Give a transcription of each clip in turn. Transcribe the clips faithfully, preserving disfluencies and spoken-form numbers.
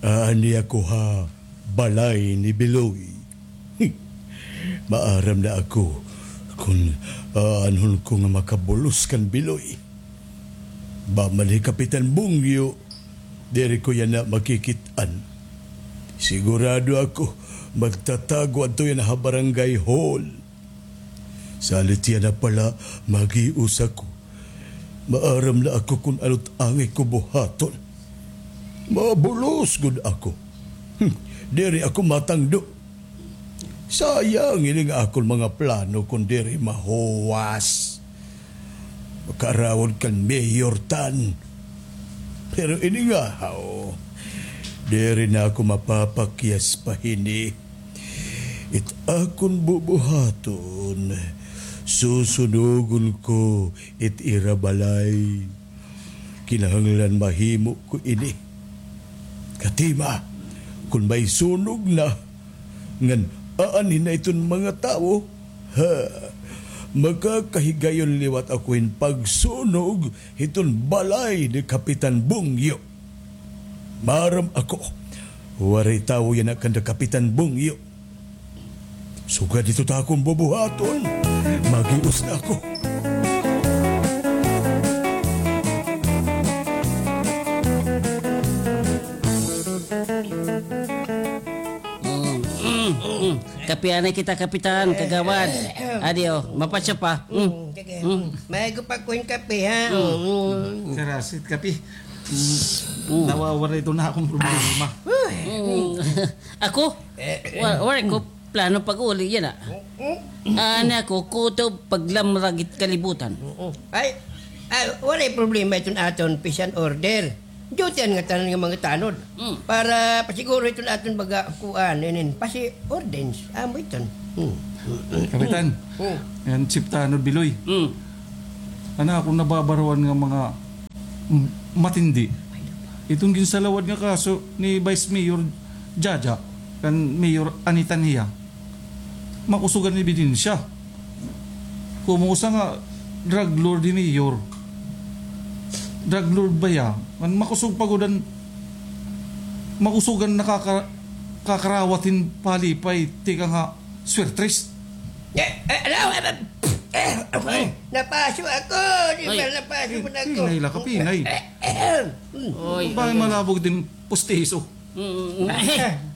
Aani ako ha balay ni Biloy. Maaram na ako kon aanhon ko nga makabulos kan Biloy. Ba man hi Kapitan Bungyo, diri ko yana makikit-an. Sigurado ako, magtatago adto yana ha barangay hall. Salit yana pala, maghios ako. Maaram na ako kon ano it angay ko buhaton. Mabulos gud ako. Hmm, diri ako matangdo. Sayang ini nga akon mga plano kon diri mahuwas. Makaarawod kan mayor tan. Pero ini nga, haw, diri na ako mapapakyas pa hini. It akon bubuhaton, susunugon ko it ira balay. Kinahanglan mahimo ko ini. Katima, kon may sunog na, ngan aanhi na iton mga tawo, ha, makakahigayon liwat ako hin pagsunog hiton balay ni Kapitan Bungyo. Maaram ako, waray tawo yana kanda Kapitan Bungyo. Sugad hito ta akon bubuhaton. Maghios na ako. Mm, mm, mm. Kape anay kita, Kapitan, Kagawad. Adi, o, mapatsa pa. Mm. Mm, sige. Mm. Mm. Maayo pa ko hin kape, ha? Mm. Mm. Karasit kape. Mm. Mm. Nawawara ito na akon problema. Mm. Ako? Eh, eh. Wa-, waray ko plano pag-uli yana. Mm. Ani ako, kutob paglamrag it kalibutan. Mm. Ay, ay, waray problema iton aton peace and order. Duty an ngatanan nga mga tanod. Mm. Para pasiguro iton aton baga kuan, inin, pasi ordens. Amo iton. Mm. Kapitan, mm, ngan Chief Tanod Biloy. Mm. An akon nababaruan nga mga m-, matindi. Iton ginsalawad nga kaso ni Vice Mayor Jaja kan Mayor Anita Nia. Makusog an ebidensya. Kumusta nga drug lord hi Mayor? Drug lord ba hiya? Ngan makusog pa gud an, makusog an nakaka-, kakarawat hin palipay, tikang ha Swertres. Eh, eh, ano? Eh, eh, eh, napaso ako. Di ba napaso mo na ako? Pinay la ka, pinay. Eh, eh, eh. Oy, bakit malabog din pustiso? Mm, mm, mm.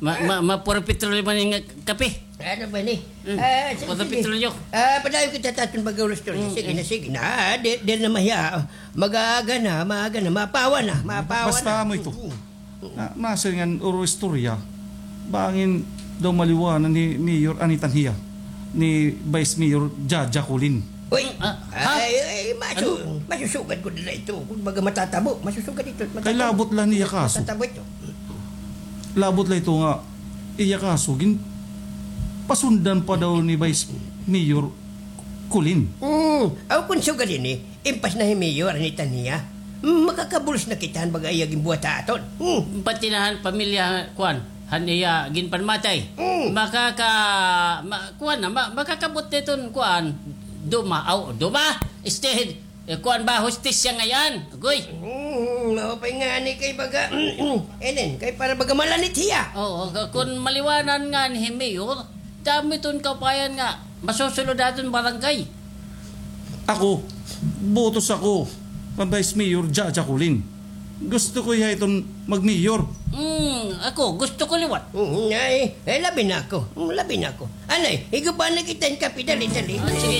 Ma-, ma-, mapuro petrolyo man nga kape. Ano ba ni? Mm. Ah, sige, sige. Mapuro petrolyo. Ah, padayon kita taton baga ulos to. Mm, sige na, sige na. Ah, di, di na mahiya. Mag-aaga na, maaga na, mapawa na, mapawa na. Basta amo ito. Mm. Na, nasiring ngan uro istorya, bangin daw maliwanan ni Mayor Anita Nia, ni Vice Mayor Jaja Colin. Uy, ah, ha? Ay, ay, masu-, masusugad ko nila ito. Kung baga matatabo, masusugad ito. Kay labot la niya kaso. Matatabo ito. Labot la ito nga, iya kaso, gin-, pasundan pa daw ni Vice Mayor Colin. Mm, aw, kung sugad ini, impas na hi Mayor Anita Nia. Mm, makakabulos na kita han baga iya ginbuhat ha aton. Mm. Pati na han pamilya, kuan, han iya ginpanmatay. Mm. Makaka-, ma-, kuan na, ma-, makakabot na iton, kuan, duma, aw, duma, instead, eh, kuan ba, hustisya ngay-an. Agoy. Mm, maupay ngani kay baga, enen, kay para baga malanit hiya. Oo, ka-, kun maliwanan ngani hi Mayor, damo iton kaupayan nga masusulod ha aton barangay. Ako, botos ako kan Vice Mayor Jaja Colin. Gusto ko hiya iton mag-mayor. Mm, ako, gusto ko liwat. Mm, ay, eh, labi na ako. Mm, labi na ako. Anay, higupa na kita hin kape, dali, dali. Ah, sige.